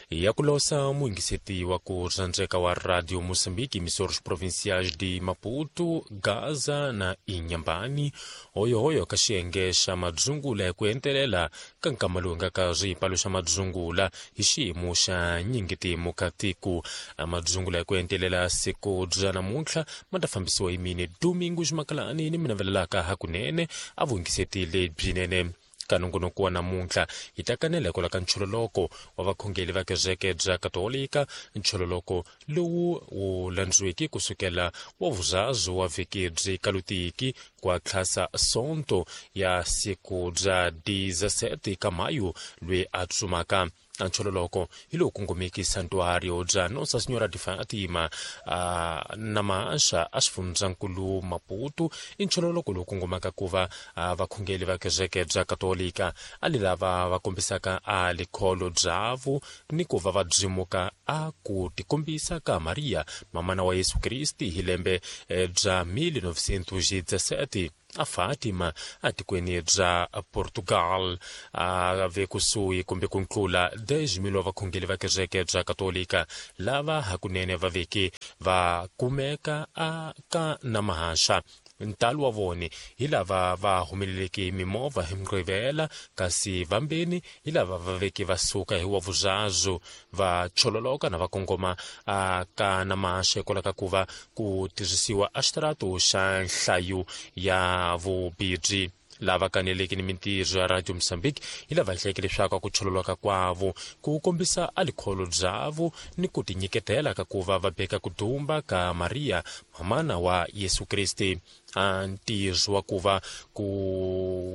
Ya ku losa muyingiseti wa ku rhandzeka wa Radio Moçambique, emissores provinciais de Maputo, Gaza na Inhambane, hoyohoyo ka xiyenge xa madzungula hi ku entelela ka nkama lowu nga ka swipalo xa madzungula hi xiyimo xa nyingitimu ka tiko. Madzungula hi ku entelela siku bya namuntlha ma ta fambisiwa hi mini Domingo Ximakalani ni mi navelelaka hakunene a vuyingiseti lebyinene. Ka nongonoko wa namuntlha hi ta kanela hikwalaho ka nchololoko wa vakhongeli va kereke bya Katolika, nchololoko lowu wu landziweke kusukela wa vuzazu wa vhiki byi kalutiki kwa tlhasa Sonto ya siku bya 17 ka Mayu loyi a tsumaka. Nchololoko hi lowu kongomeki santuario bya Nossa Senhora de Fatima na Maxa a xifundzankulu Maputo. I nchololoko lowu kongomaka ku va vakhongeli va kereke bya Katolika a li lava va kombisaka a likholo byavu ni ku va va byimuka a ku tikombisa ka Maria mamana wa Yesu Kristi hi lembe bya 1917 a Fatima atikweni bya Portugal. A ve kusuhi kumbe ku ntlula 10,000 wa vakhongeli va kereke bya Katolika lava hakunene va veke va kumeka a ka Namahaxa. Ntalo wa vone hi lava va humeleleke hi mimovha hi Mugqivela, kasi vambeni hi lava va veke va suka hi wa vuzazu va chololoka na va kongoma a ka Namahaxa hikwalaho ka ku va ku tirhisiwa a xitarato xa nhlayo ya vubibyi. Lava kaneleke ni mintirho ya Radio Mozambique hi lava hlayeke leswaku ku chololoka kwavo ku kombisa a likholo byavo ni ku tinyiketela ka ku va va beka ku dumba ka Maria mamana wa Yesu Kriste. A ntirho wa ku va ku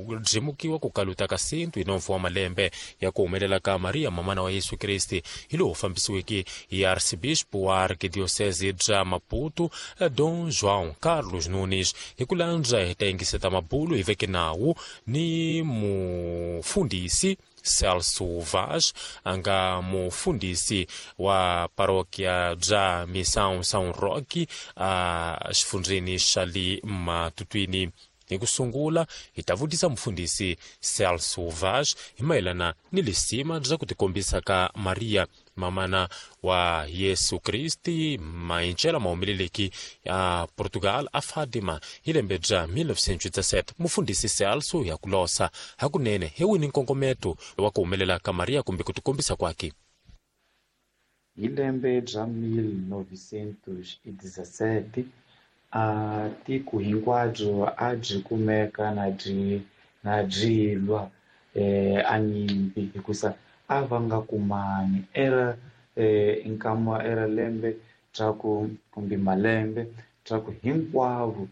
byimukiwa ku kaluta ka sintu hi nomfu wa malembe ya ku humelela ka Maria mamana wa Yesu Kriste hi lowu fambisiweke hi Archbishop wa Arkidiocese bya Maputo Dom João Carlos Nunes. Hi ku landza hi ta yingiseta mabulu hi veke nawu ni mufundhisi Celso Vaz, a nga mufundhisi wa parokia bya Missão São Roque a xifundzheni xa le Matutwini. Hi ku sungula hi ta vutisa mufundhisi Celso Vaz hi mayelana ni lisima bya ku tikombisa ka Maria mamana wa Yesu Kristi mayincela mahumeleleki ya Portugal a Fatima hi lembe bya 1917. Mufundhisi Celso ya ku losa hakunene hi wini nkongometo wa ku humelela ka Maria kumbe ku tikombisa kwake? Hi lembe bya 1917 a tiko hinkwabyo a byi kumeka na byi lwa a nyimpi hikusa a va nga kumani era nkama era lembe bya ku kumbe malembe bya ku hinkwavo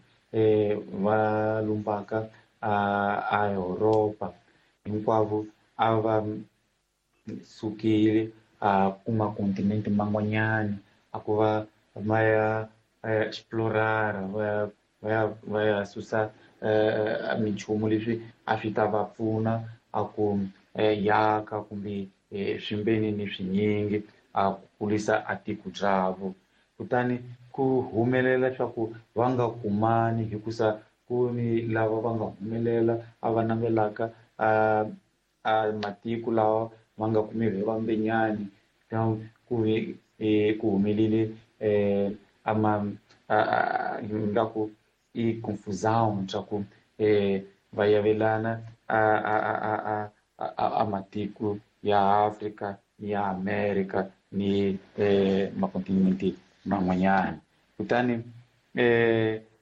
va lumbaka a Europa hinkwavo a va sukile a kuma kontinente man'wanyana a ku va va ya explorar va ya susa minchumu leswi a swi ta va pfuna a ku yaka kumbe swimbeni ni swinyingi a ku kulisa a tiko byavo. Kutani ku humelela leswaku va nga kumani hikusa ku ni lava va nga humelela a va navelaka a matiko lawa va nga kumiwi hi vambenyani ku humelele ingaku i confusão swa ku va yavelana a matiko ya Afrika ni ya Amerika ni makontinente man'wanyana. Kutani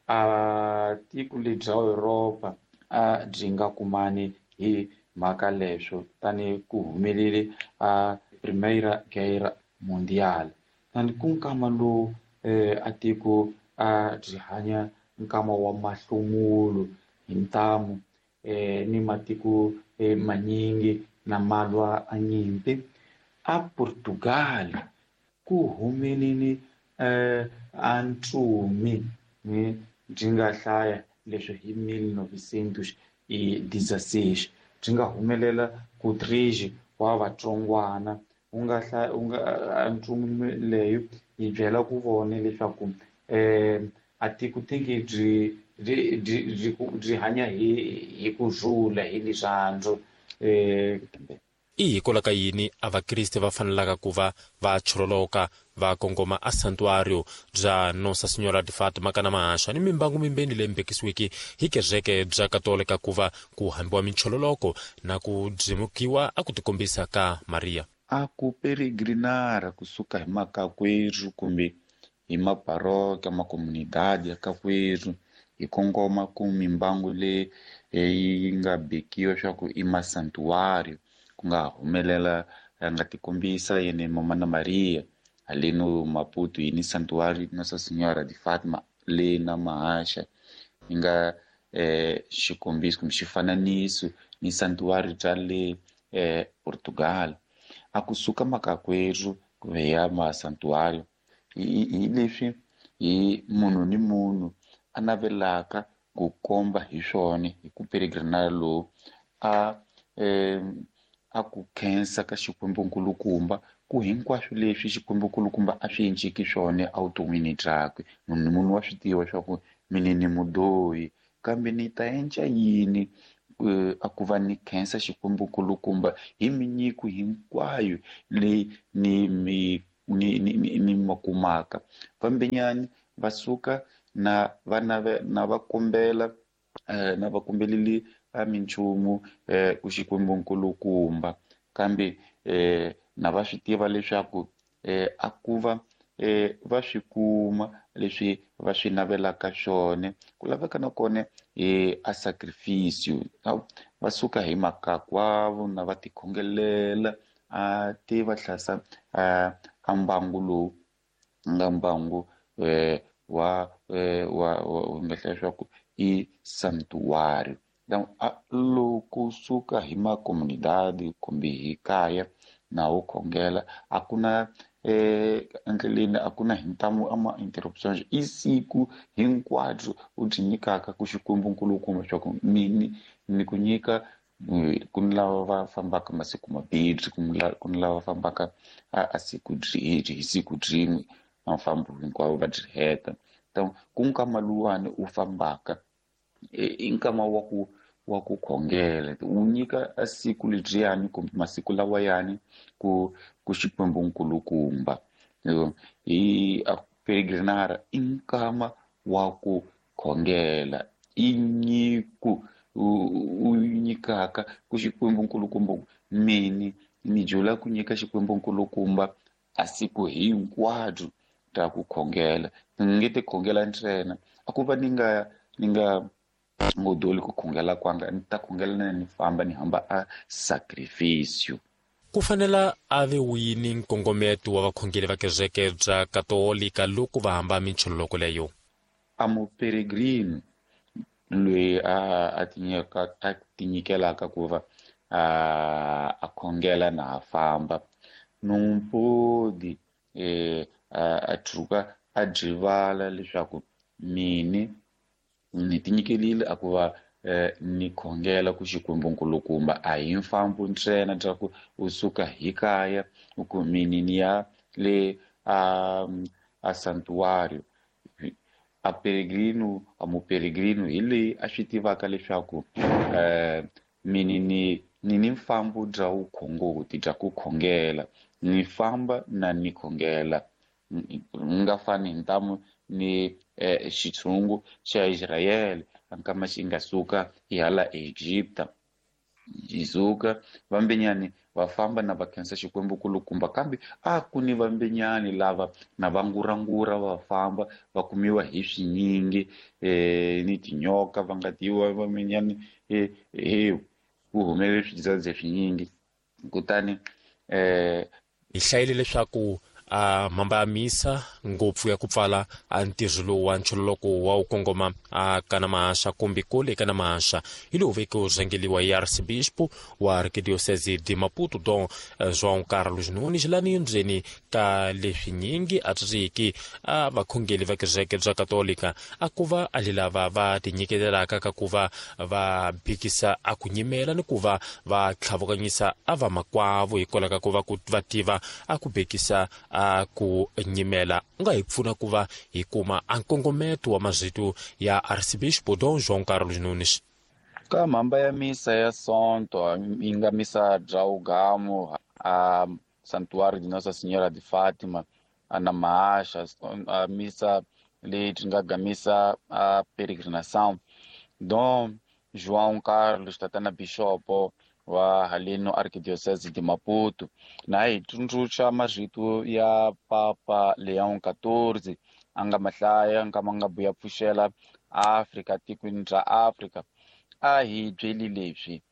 a tiko lebyi bya Europa a byi nga kumani hi mhaka leswo, tani ku humelele a Primeira Guerra Mundial. Tani ku nkama lowu a tiko a byi hanya nkama wa mahlomulo hi ntamu ni matiko manyingi na malwa a nyimpi. A Portugal ku humelele a ntsumi byi nga hlaya leswi hi 1916 byi nga humelela ku 3 wa vatsongwana u nga hlaya u nga ntsumi leyo yi byela ku vona leswaku a tiko tingi byi hanya hi ku rhula hi rirhandzu. I hikwalaho ka yini a vakriste va fanelaka ku va va chololoka va kongoma a santuário bya Nossa Senhora de Fátima kana mahaxa ni mimbangu mimbeni leyi mbekisiweke hi kereke bya katolika ku va ku hambiwa minchololoko na ku byimukiwa a ku tikombisa ka Maria? A ku peregrinara kusuka hi makakwerhu kumbe hi maparoka makomunidade ya kakwerhu hi kongoma ku mimbangu leyi yi nga bekiwa swa ku i masantuário, ku nga humelela a nga tikombisa yene mama na Maria haleno Maputo yi ni santuário Nossa Senhora de Fátima le na Mahaxa yi nga xikombiso kumbe xifananiso ni santuário bya le Portugal. A kusuka makakwerhu ku ya masantuário hi leswi hi munhu ni munhu a navelaka ku komba hi swona hi ku peregrinara lowu a ku khensa ka Xikwembu nkulukumba ku hinkwaswo leswi Xikwembu nkulukumba a swi endleki swona evuton'wini byakwe. Munhu ni munhu wa swi tiva swa ku mina ni mudyohi kambe ni ta endla yini a ku va ni khensa Xikwembu nkulukumba hi minyiko hinkwayo leyi ni mi ni ni ni ma kumaka. Vambenyani va suka na va na va kombela na va kombeleli a minchumu ku Xikwembu nkulukumba kambe na va swi tiva leswaku a ku va va swi kuma leswi va swi navelaka swona. Ku laveka na kona a sacrificio, va suka hi makakwavo na va tikhongelela a ti va hlasa a mbangu lowu nga mbangu wa wa nga hlaya swa ku i santuário. Então loko suka hi makomunidade kumbe hi kaya na wo khongela a ku na endleleni a ku na hintamu ama interruptions, i siku hinkwabyo u byi nyikaka ku Xikwembu nkulukumba swa ku mini ni ku nyika. Ku ni lava va fambaka masiku mambirhi, ku ni lava fambaka a siku hi siku byin'we mafambo hinkwavo va byi heta. Então ku nkama luwani u fambaka i nkama wa ku khongela, u nyika a siku lebyiyani kumbe masiku lawayani ku Xikwembu nkulukumba. Hi a peregrinara i nkama wa ku khongela, i nyiko u nyikaka ku Xikwembu nkulukumba. Mini ni jula ku nyika Xikwembu nkulukumba a siku hinkwabyo ta ku khongela, ni nge ti khongela ntsena a ku va ni nga ngodoli ku khongela kwanga, ni ta khongela na ni famba ni hamba a sacrificio. Ku fanela a ve wini nkongometo wa vakhongeri va kereke bya katolika loko va hamba minchololoko leyo? A muperegrino loyi a tinyikelaka ku va a khongela na a famba numpodi a tshuka a dyivala leswaku mini ni tinyikelile a ku va ni khongela ku Xikwembu nkulukumba. A hi mfambo ntsena bya ku u suka hi kaya u ku mini ni ya le a santuário. A peregrino a muperegrino hi leyi a swi tivaka leswaku mini ni mfambo bya vukhongoti bya ku khongela, ni famba na ni khongela, nga fani hi ntamu ni xitshungu xa Israyele ankama xi nga suka hi hala Egipta xi suka vambenyani va famba na va khensa Xikwembu kulukumba, kambe a ku ni vambenyani lava na va ngurangura va famba va kumiwa hi swinyingi ni tinyoka va nga tiwa vambenyani ku humelele swidzadze swinyingi. Kutani hi hlayile leswaku a mhamba ya misa ngopfu ya ku pfala a ntirho lowu wa nchololoko wa wu kongoma a kana mahaxa kumbe kule kana mahaxa hi lowu veke wu rhangeliwa hi arcebispo wa arkidiocese de Maputo Dom João Carlos Nunes lani ndzeni ka leswinyingi a tswiki a vakhongeli va kereke bya katolika a ku va a lava va tinyiketelaka ka ku va va bikisa a ku nyimela ni ku va va tlhavukanyisa a va makwavo hikwalaho ka ku va ku va tiva a ku bekisa a ku nyimela. U nga hi pfuna ku va hi kuma a nkongometo wa mazito ya arcebispo Dom João Carlos Nunes? Ka mhamba ya misa ya Sonto yi nga misa bya Ugamu a Santuário de Nossa Senhora de Fátima a na Mahasha, a misa leyi ti nga gamisa a peregrinação Dom João Carlos tatana bishopo wa haleno Arquidiocese de Maputo na hi tsundzuxa marito ya Papa Leon XIV a nga mahlaya nkama nga buya pfuxela Afrika tikweni ra Afrika. A hi byeli leswi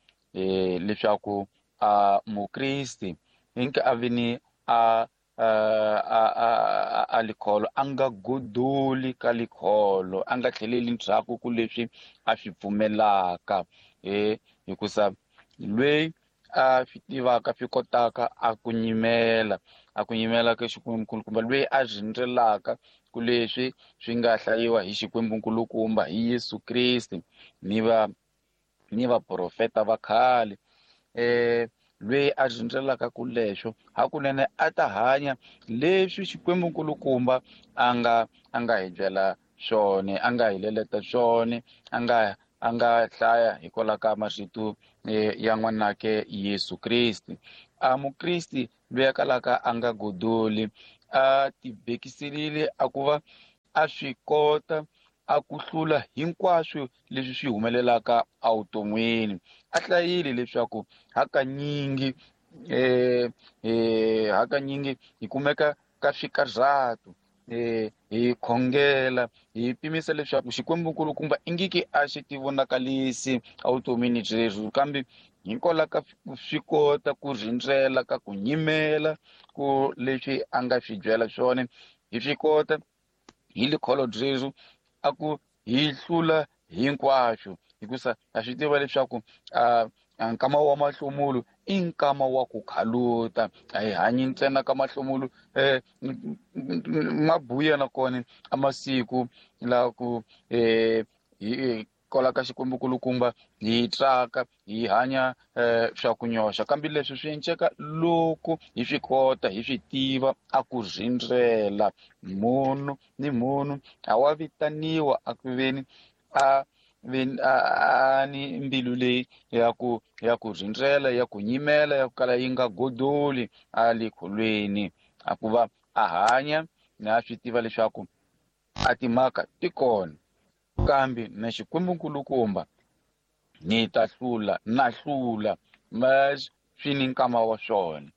leswaku a mukristi hinka a vini a a likholo a nga godoli ka likholo, a nga tlheleli ndzhaku ku leswi a swi pfumelaka, hikusa lweyi a swi tivaka swi kotaka a ku nyimela ka Xikwembu-nkulukumba, lweyi a rindzelaka ku leswi swi nga hlayiwa hi Xikwembu-nkulukumba hi Yesu Kriste ni vaprofeta va khale, lweyi a rindzelaka ku leswo hakunene a ta hanya leswi Xikwembu-nkulukumba a nga hi byela swona, a nga hi leleta swona, a nga hlaya hikwalaho ka marito ya n'wanake Yesu Kriste. A mukristi loyi a kalaka a nga godoli a tibekiselile a ku va a swi kota a ku hlula hinkwaswo leswi swi humelelaka evuton'wini. A hlayile leswaku hakanyingi hi kumeka ka swikarhato, hi khongela hi pimisa leswaku Xikwembu-nkulukumba ingiki a xi tivonakalisi evutomini byerhu, kambe hikwalaho ka swi kota ku rindzela ka ku nyimela ku leswi a nga swi byela swona, hi swi kota hi likholo byerhu a ku hi hlula hinkwaswo, hikusa ha swi tiva leswaku nkama wa mahlomulo i nkama wa ku khaluta, a hi hanyi ntsena ka mahlomulo mabuya nakona a masiku la ku hi kola ka Xikwembu-nkulukumba hi tsaka hi hanya swa ku nyoxa, kambe leswi swi enceka loko hi swi kota hi swi tiva a ku rindzela. Munhu ni munhu a wa vitaniwa a ku veni a ni mbilu leyi ya ku rindzela, ya ku nyimela, ya ku kala yi nga godoli a le kholweni, a ku va a hanya na swi tiva leswaku a timhaka ti kona, kambe na Xikwembu-nkulukumba ni ta hlula na hlula swi ni nkama wa swona.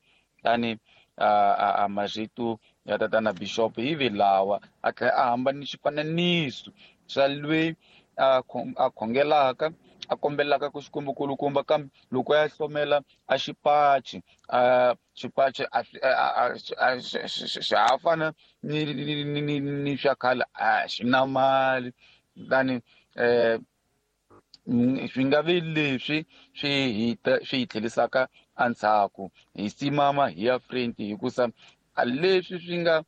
Tani a marito ya tatana bishop hi vi lawa a tlhela a hamba ni xifananiso xa lweyi a khongelaka a kombelaka ku Xikwembu-nkulukumba, kambe loko ya hlomela a xipachi xipachi a xa ha fana ni swa khale, a xi na mali. Tani swi nga vi leswi swi hi tlhelisaka endzhaku, hi simama hi ya front, hikusa leswi swi nga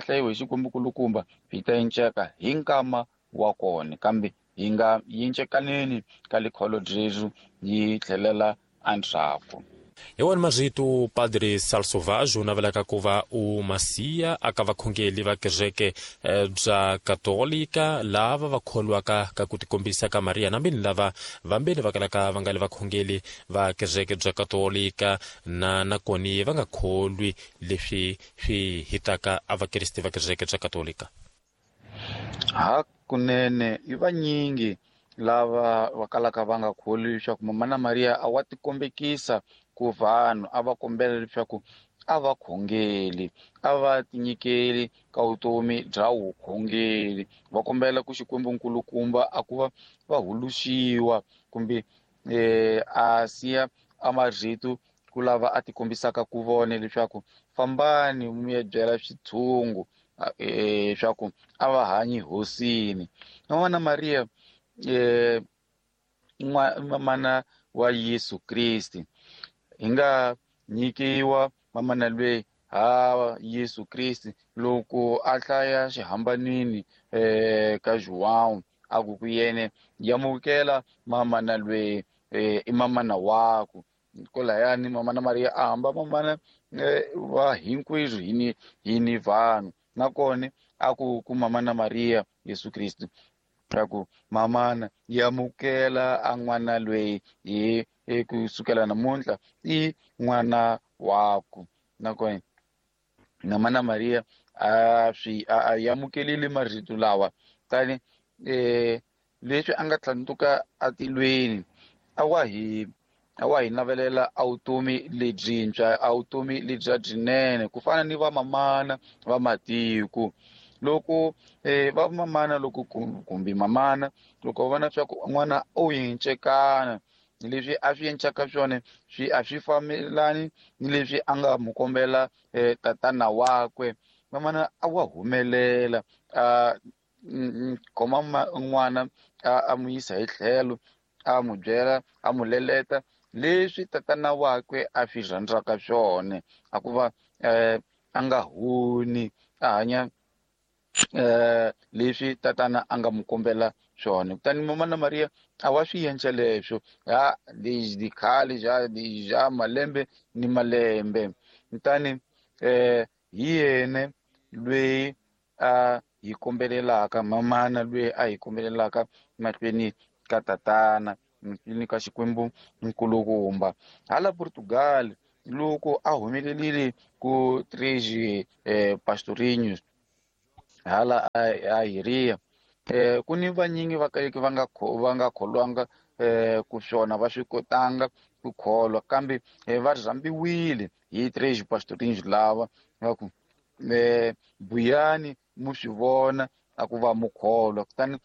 hlayiwa hi Xikwembu-nkulukumba swi ta enceka hi nkama wa kona, kambe hi nga yincekaneni ka likholo byerhu yi tlhelela endzhaku. Hi wona marito Padre Celso Vaz u navelaka ku va u masiya aka vakhongeli va kereke bya Katolika lava va kholwaka ka ku tikombisa ka Maria, nambeni lava vambeni va kalaka va nga le vakhongeli va kereke bya Katolika na nakoni va nga kholwi leswi swi hitaka a vakriste va kereke bya Katolika. Hakunene i vanyingi lava va kalaka va nga kholwi leswaku Mama na Maria a wa tikombekisa ku vanhu, a va kombela leswaku a va khongeli, a va tinyikeli ka vutomi bya vukhongeli, va kombela ku Xikwembu-nkulukumba a ku va va huluxiwa kumbe a siya a marito ku lava a tikombisaka ku vona leswaku fambani mi ya byela switshungu leswaku a va hanyi hosini. Mama na Maria mana wa Yesu Kriste hi nga nyikiwa mamana lweyi ha Yesu Kriste loko a hlaya xihambanini ka João a ku ku yene yamukela mamana lweyi i mamana waku. Kolayani mamana Maria a hamba mamana va hinkwerhu hi ni vanhu, nakona a ku ku mamana Maria Yesu Kriste Swa ku mamana yi amukela a n'wana loyi hi kusukela namuntlha i n'wana waku. Nakona Mamana Maria a swi a amukelile marito lawa tani leswi a nga tlhandluka atilweni a wa hi navelela a vutomi lebyintshwa, a vutomi lebya byinene ku fana ni vamamana va matiko. Loko vamamana loko kumbe mamana loko va vona swa ku n'wana u yincekana leswi a swi encaka swona swi a swi fambelani ni leswi a nga mu kombela tatana wakwe, mamana a wa humelela a khoma n'wana a mu yisa hi tlhelo, a mu byela, a mu leleta leswi tatana wakwe a swi rhandzaka swona, a ku va a nga huni, a hanya leswi tatana a nga mu kombela swona. Kutani Mamana Maria a wa swi endla leswo ha desde khale ja malembe ni malembe. Kutani hi yena loyi a hi kombelelaka, mamana loyi a hi kombelelaka mahlweni ka tatana, mahlweni ka Xikwembu nkulukumba. Hala Portugal loko a humelerile ku Três Pastorinhos hala a Iria, ku ni vanyingi va kaleke va nga kholwanga ku swona va swi kotanga ku kholwa, kambe va rhambiwile hi Três Pastorinhos lava va ku buyani mu swi vona a ku va mu kholwa. Kutani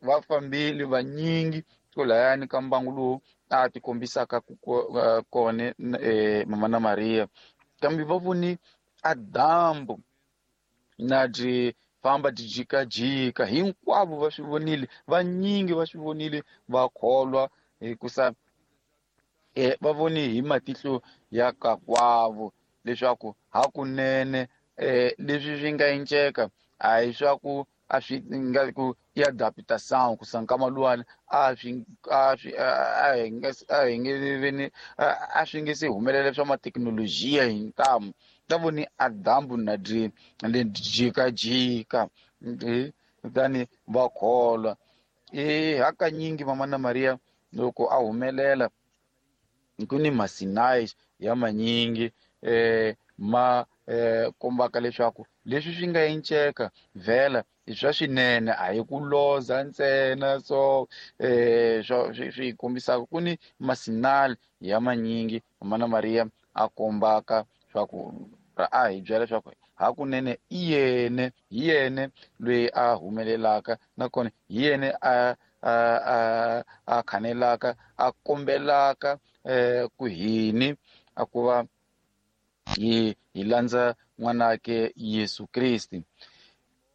va fambile vanyingi kwalahayani ka mbangu lowu a ti kombisaka kona Mamana Maria, kambe va voni a dyambu na byi famba byi jikajika, hinkwavo va swi vonile, vanyingi va swi vonile va kholwa hikusa va voni hi matihlo ya kakwavo leswaku hakunene leswi swi nga enceka a hi swa ku a swi nga ku i adaptação ku sankama luwani a swi a swi a hi nge a hi nge veni a swi nge se humelela swa mathekinolojiya hi ntamu. Ta voni a dyambu na byi jikajika kutani va kholwa. Hakanyingi Mamana Maria loko a humelela ku ni masinai ya manyingi ma kombaka leswaku leswi swi nga enceka vhela i swa swinene, a hi ku loza ntsena. So swi kombisaka ku ni masinali ya manyingi Mamana Maria a kombaka swa ku a hi byela leswaku hakunene i yene, hi yene loyi a humelelaka, nakona hi yene a khanelaka, a kombelaka ku hini a ku va hi landza n'wanake Yesu Kriste.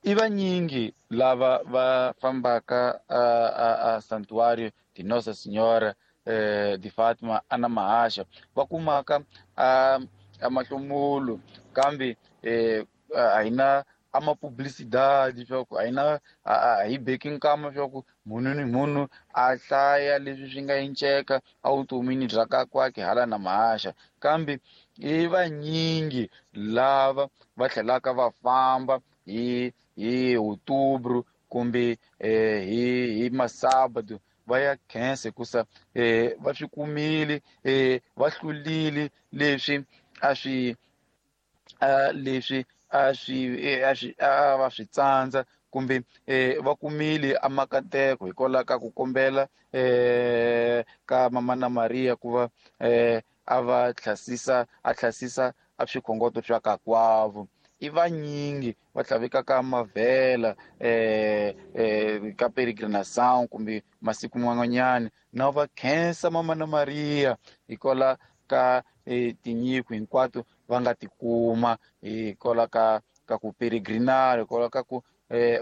I vanyingi lava va fambaka a Santuário de Nossa Senhora de Fátima ana Mahasha, va kumaka a mahlomulo, kambe a hi na a mapublicidade swa ku a hi na a hi beki nkama swa ku munhu ni munhu a hlaya leswi swi nga enceka evutomini bya kakwake hala na Mahasha, kambe i vanyingi lava va tlhelaka va famba hi outubro kumbe hi masabado va ya khensa hikusa va swi kumile, va hlulile leswi a swi leswi a swi a va swi tsandza, kumbe va kumile a makateko hikwalaho ka ku kombela ka Mamana Maria ku va a va tlhasisa, a tlhasisa a swikhongoto swa kakwavo. I vanyingi va tlhavekaka mavhela ka peregrinação kumbe masiku man'wanyana, na va khensa Mamana Maria hikwalaho ka tinyiko hinkwato va nga tikuma hikwalaho ka ku peregrinar, hikwalaho ka ku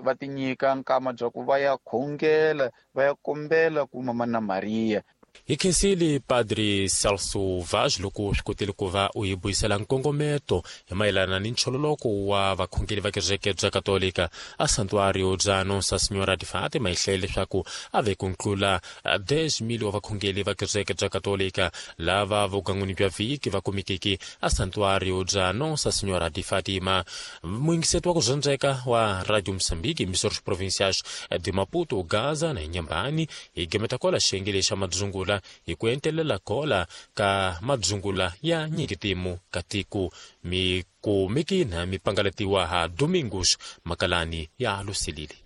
va tinyika nkama bya ku va ya khongela, va ya kombela ku Mamana Maria. Hi khensile Padre Celso Vaz loko swi kotile ku va u hi buyisela nkongometo hi mayelana ni nchololoko wa vakhongeri va kereke bya Katolika a Santuário bya Nossa Senhora de Fátima. Hi hlayile leswaku a ve ku ntlula 10,000 wa vakhongeri va kereke bya Katolika lava vugan'wini bya vhiki va kumekeke a Santuário bya Nossa Senhora de Fátima. Muyingiseti wa ku dzondzeka wa Radio Moçambique, emissores provinciais de Maputo, Gaza na Inhambane, hi gemeta kola xiyenge lexa madzungula hi ku entelela kola ka madzungula ya nyikitimu ka tiko mikumekina mi pangalatiwa ha Domingos Makalani ya Lusilili.